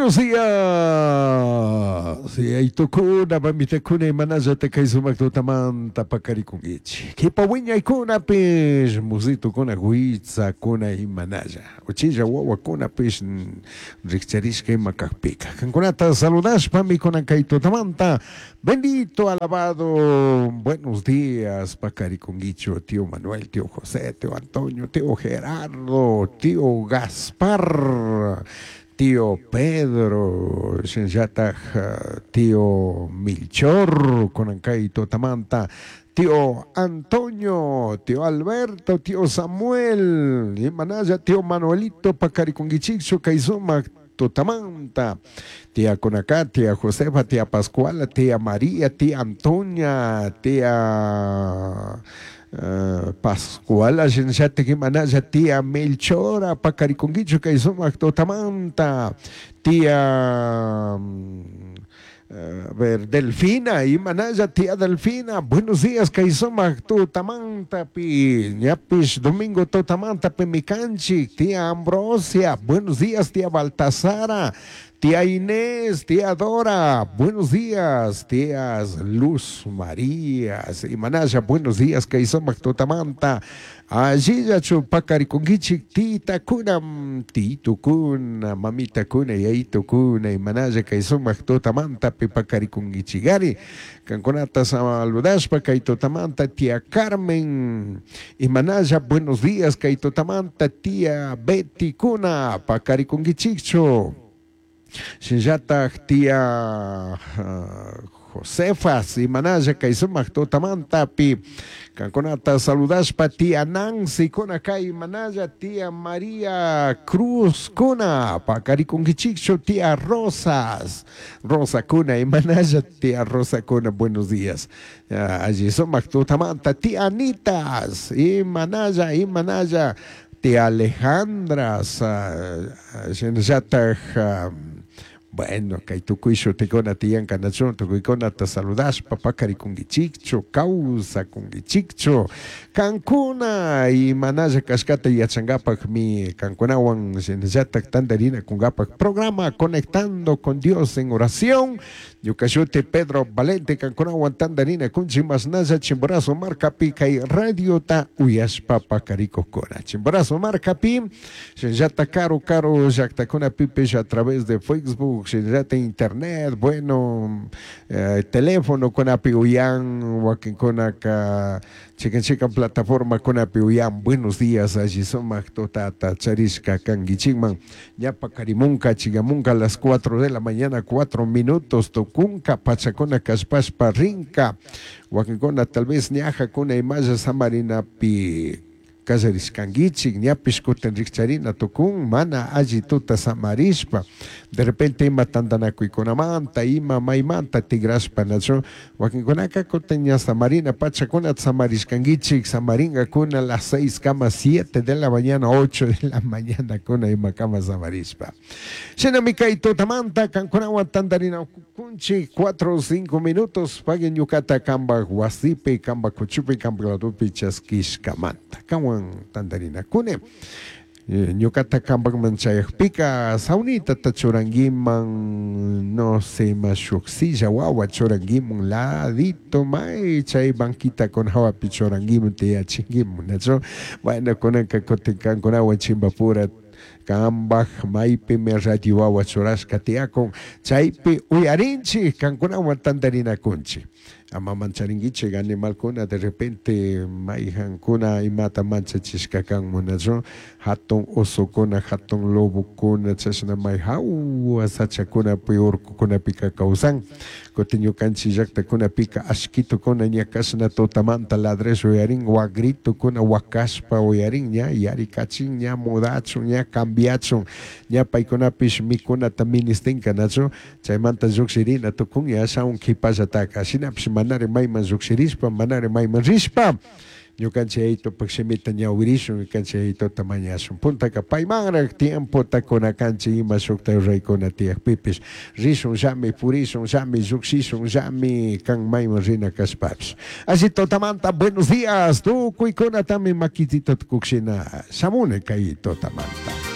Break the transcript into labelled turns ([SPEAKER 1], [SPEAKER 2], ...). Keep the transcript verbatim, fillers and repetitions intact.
[SPEAKER 1] Buenos días. Yaytukuna, mamitakuna, imanallata kay sumak tutamanta pakarikunkichik. Kipa wiñaykunapish, musitukuna, huitzakuna imanalla. Uchilla wawakunapish rikcharishka ima kakpika. Kankunata saludashpami kunan kay tutamanta. Bendito, alabado, buenos días, pakarikunkichu, tío Manuel, tío José, tío Antonio, tío Gerardo, tío Gaspar, tío Pedro, shinallataj tío Milchor, kunan kay tutamanta, tío Antonio, tío Alberto, tío Samuel, imanalla tío Manuelito, pakarikunkichikchu kay sumak tutamanta, tía Conacá, tía Josefa, tía Pascuala, tía María, tía Antonia, tía Uh, Pascuala shinallatik imanalla tía Melchora pakarikunkichu kay sumak tutamanta, tía um, a ver, Delfina, imanalla tía Delfina, buenos días, kay sumak tutamanta pi, ñapish domingo tutamanta pi mikanchik, tía Ambrosia, buenos días, tía Baltasara, tía Inés, tía Dora, buenos días, tías Luz María, imanalla, buenos días, kay sumak tutamanta, allillachu pakarikunkichik, titakuna, titukuna, mamitakuna, yayitukuna, imanalla kay sumak tutamanta pi pakarikunkichikari, kankunata saludashpa kay tutamanta, tía Carmen, imanalla, buenos días, kay tutamanta, tía Betty kuna, pakarikunkichikchu, shinallatak tía uh, Josefas, imanalla kay sumak tutamanta pi, kankunata saludashpa tía Nancy kuna kay imanalla, tía María Cruz kuna, pakarikunkichikchu, tía Rosas, Rosa kuna, imanalla, tía Rosa kuna, buenos días. Uh, alli sumak tutamanta, tía Anitas, imanalla, imanalla, tía Alejandra, uh, shinallatak um, bueno, kay tukuy shutikuna tiyan kanachun, tukuykunata saludashpa pakarikunkichikchu, kawsakunkichikchu, kankuna imanalla kashkata yachankapakmi kankunawan shinallatak tantarinakunkapak programa Conectando con Dios en Oración. Ñuka shuti Pedro Valente, kankunawan tantarinakunchik mashnalla Chimborazo markapi kay radiota uyashpa pakarikukkuna. Chimborazo markapi, shinallatak karu karu llaktakunapipish a través de Facebook, shinallata internet, bueno, eh, teléfono kunapi uyan, wakinkunaka chikan chikan plataforma kunapi uyan. Buenos días, alli sumak tutata charishka kankichikman, ña pakarimunka chigamunka a las cuatro de la mañana, cuatro minutos, tukunka pachakuna kashpashpa rinka, wakinkuna tal vez ñajakuna imalla samarinapi kallarishkankichik, ñapish kutin rikcharina tukun, mana alli tuta samarishpa, de repente ima tantanakuykunamanta, ima maymanta tigrashpa, nachu, wakinkunaka kutin ña samarina pachakuna samarishkankichik, samarinkakuna las seis kama siete de la mañana, ocho de la mañana kuna ima kama samarishpa. Shinami kay tutamanta kankunawan tantarinakunchik, cuatro o cinco minutos, paguen ñukata kambak wasipi, kambak kuchupi, kambak ladupi chaskishkamanta. Kanwan tantarinakuni. Ñukata kambakman chayakpika saunita ta churankiman, no sé, ma shuk silla wawa churankiman, ladito may chay banquita con hawapi churankiman tiyachinkiman, nachu? Bueno, kunanka kutin kankunawan chimbapura kambaj maypimi radio wawa churashka tiyakun, chaypi uyarinchik, kankunawan tantarinakunchik. Ama mancharinkichik animalkuna de repente mayjankuna imata manchachishka kanmun, nachu? Hatun osokuna, hatun lobokuna, chashna may hawa sachakunapi urkukunapika kawsan. Kutin ñukanchik llaktakunapika ashkitukuna ña kashna tutamanta ladresh uyarin, wagritukuna wakashpa uyarin, ña yarikachin, ña mudachun, ña cambiachun, ña paykunapish mikunata ministinka, nachu? Chaymanta llukshirina tukun ña ashawan kipallataka, shinapish manari mayman llukshirishpa, manari mayman rishpa, ñukanchik yayitupak shimita ñawirishun, ñukanchik yayituta mañashun. Puntaka paymanraq tiempota kunakanchik ima shukta ruraykuna tiyakpipish, rishun llami, purishun llami, llukshishun llami, kan mayman rina kashpapish. Alli tutamanta, buenos días, tukuykunatami makitita tukukshina shamuni kay tutamanta.